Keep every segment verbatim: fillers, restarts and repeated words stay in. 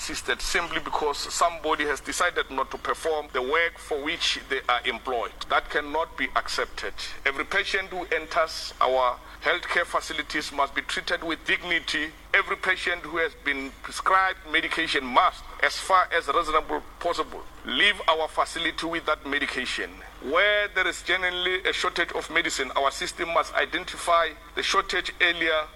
assisted simply because somebody has decided not to perform the work for which they are employed. That cannot be accepted. Every patient who enters our healthcare facilities must be treated with dignity. Every patient who has been prescribed medication must, as far as reasonably possible, leave our facility with that medication. Where there is genuinely a shortage of medicine, our system must identify the shortage earlier.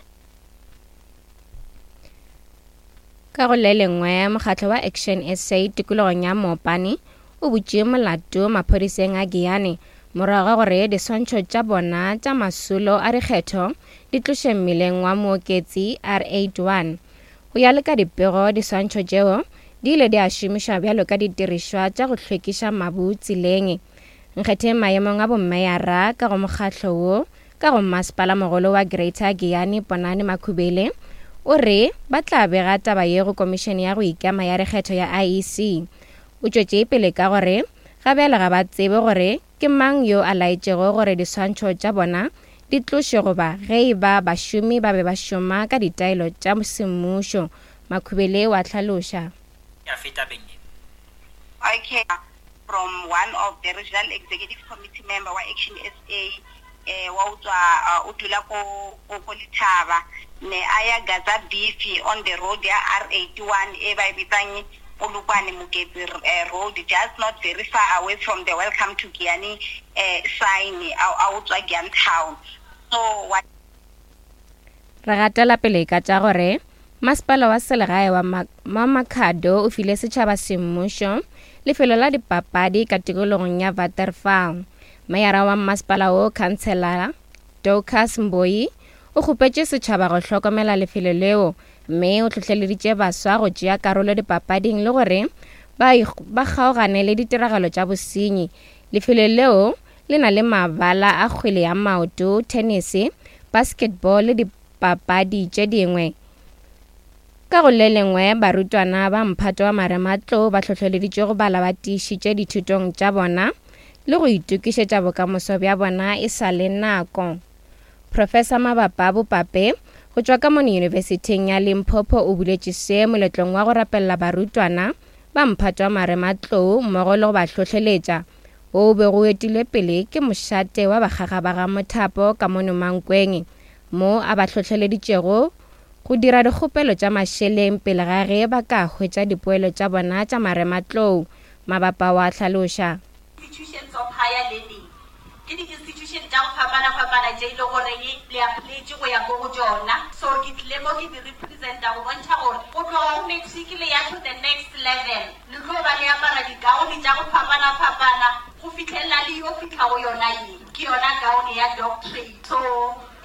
Ka go le lengwe, mokgatlo wa Action S A tikologong ya Mopani o butše molato maphodiseng a Giyani morago ga gore diswantšho tša bona tša masolo a dikgetho di tloše mmileng wa Mooketsi R eighty-one. Go ya le ka dipego, diswantšho tšeo di ile di a šomišwa bjalo ka didirišwa tša go hlwekiša mabu tseleng. Nkgetheng maemong a bommeyara ka go mokgatlo wo ka go masepala mogolo wa Greater Giyani Ponani Makhubele o re ba tla bega taba ye go komišene ya go ikema ya dikgetho ya I E C. O tšwetše pele ka gore ga bjale ga ba tsebe gore ke mang yo a laetšego gore diswantšho tša bona di tlošwe goba ge e ba bašomi ba be ba šoma ka ditaelo tša semmušo. Makhubele wa hlaloša. Ya feta beng ye. Okay, from one of the regional executive committee member wa Action S A, eh, wa utswa, uh, o dula ko, ko, ko Lethaba, ne a ya Gaza Beef on the road ya R eighty-one e ba e bitsang Polokwane Moketsi, eh, road, just not very far away from the Welcome to Giyani, eh, sign, a, a utswa Giyani town. So what Re gatela pele ka tša gore masepala wa selegae wa Ma-, wa Makhado o file setšhaba semmušo lefelo la dipapadi ka tikologong ya Waterval. Meyara wa masepala wo, Councillor Dorcas Mboyi, o kgopetše setšhaba go hlokomela lefelo leo mme o hlohleleditše baswa go tšea karolo dipapading le gore ba ikg-, ba kgaogane le ditiragalo tša bosenyi. Lefelo leo le na le mabala a kgwele ya maoto, tennis, basketball le dipapadi tše dingwe. Ka go le lengwe, barutwana ba mphato wa marematlou ba hlohleleditšwe go bala ba tiišitše dithutong tša bona le go itokišetša bokamoso bja bona e sa le nako. Professor Mabapa Bopape go tšwa ka mono Yunibesithing ya Limpopo o buletše se moletlong wa go rapelela barutwana ba mphato wa marematlou mmogo le go ba hlohleletša, wo o bego o etilwe pele ke mošate wa bakgaga ba ga Mothapo ka mono Mankweng, mo a ba hlohleleditšego go dira dikgopelo tša mašeleng pele ga ge ba ka hwetša dipoelo tša bona tša marematlou. Mabapa wa hlaloša. Institutions of higher learning ke di-institution tša go fapana-fapana tše e le goreng le applyetše go ya ko go tšona. So ke tlile mo ke di representa go bontšha gore go tloga go matric le ya to the next level, le tlo ba le apara digaone tša go fapana-fapana go fihlelela le yo fihla go yona ye, ke yona gaone ya doctorate. So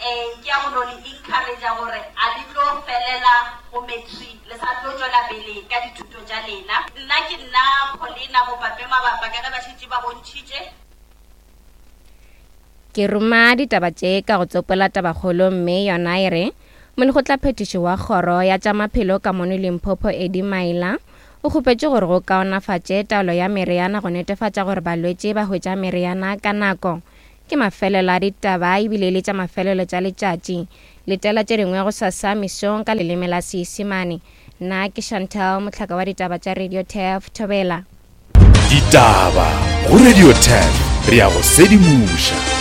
eh, ke ya go no le encourage-a gore a le tlo felela go matric, le sa tlo tšwela pele ka dithuto tša lena. Nna ke nna Paulina Bopape Mabapa, ka ge ba šetše ba bontšhitše. Ke ruma ditaba tše ka go tsopola tabakgolo mme yona e re molekgotlaphethiši wa kgoro ya tša maphelo ka mono Limpopo Eddie Maila o kgopetše gore go kaonafatše taolo ya meriana go netefatša gore balwetši ba hwetša meriana ka nako. Ke mafelelo a ditaba ebile le tša mafelelo tša letšatši. Letela tše dingwe go sasa mesong ka leleme la Seisemane. Nna ke Chantal, mohlaka wa ditaba tša Radio T E F Thobela. Ditaba go Radio T E F, re ya go sedimoša.